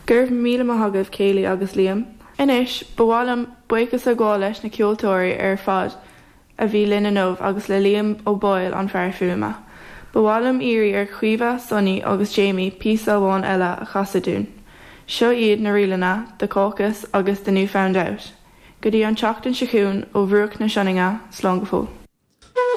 Go raibh míle maith agaibh Kayleigh agus Liam. Anois, ba mhaith liom buíochas a ghabháil leis na ceoltóirí ar fad a bhí linn inniu agus le Liam Ó Baoill an fear fuaime. Ba mhaith liom iarraidh ar Chaoimhe, Sonny agus Jamie píosa amháin eile a chasadh dúinn. Seo iad na ríleanna The Caucus agus The New Found Out. Go dtí an tseachtain seo chugainn ó bhruach na Sionainne, slán go fóill.